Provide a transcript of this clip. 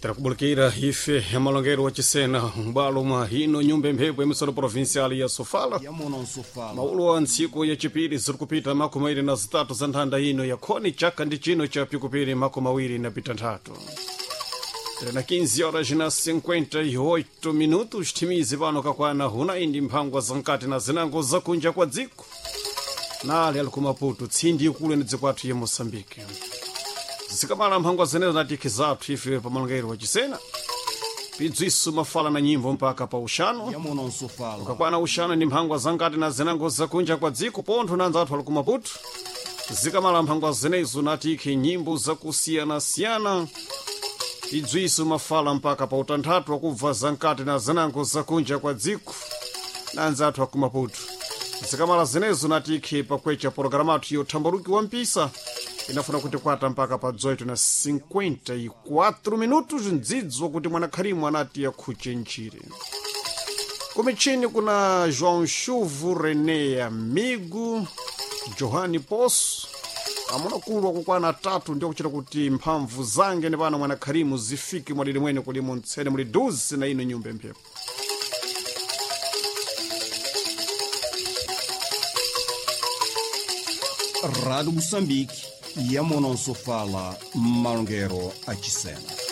Tirakubulukira ife ya malongero wa chisena m'bwalo mwa ino nyumba imphepo ya provincial ya Sofala. Yamuno Nsofala. Maulo wa ntsiku yachipiri ziri kupita 23 za nthanda ino ya khoni chaka ndi chino cha pikupiri 23. Tena 15 horas na 58 minutos, timizi pano kakwana huna indi mphangwa zankati na zinango zakunja kwa dziko nali ali kumaputo tsindi ikulu ni dziko athu ya Moçambique. Zikamala mphangwa zenezo natikhi zathu ife pamalongero wa chisena pidzwiso mafala na nyimbo mpaka pa uxano. Yamuno Nsofala. Kakwana uxano ndi mphangwa zankati na zinango zakunja kwa dziko pontho nanza athu ali kumaputo. Zikamala mphangwa zenezo natikhi nyimbo zakusiyanasiyana idzwiso mafala mpaka pa utanthatu wakubva zankati na zinango zakunja kwa dziko nanza athu akumaputo. Zikamala zenezo natikhi pakwecha pologalamu athu yothambaluki wa mpisa inafuna kuti kwata mpaka pa 18 na 54 minutos, mdzidzo kuti mwanakharimu anati yakhuche ntchire. Kumichini kuna João Chuvo, René Amigo, Johani Poço, amuna kulu akukwana atatu ndio kuchita kuti mphamvu zange ni pano mwanakharimu zifike mwadidi mwene kulimo ntsene muli duzi na ino nyumba imphepo. Rádio Moçambique, Yamuno Nsofala, malongero a chisena.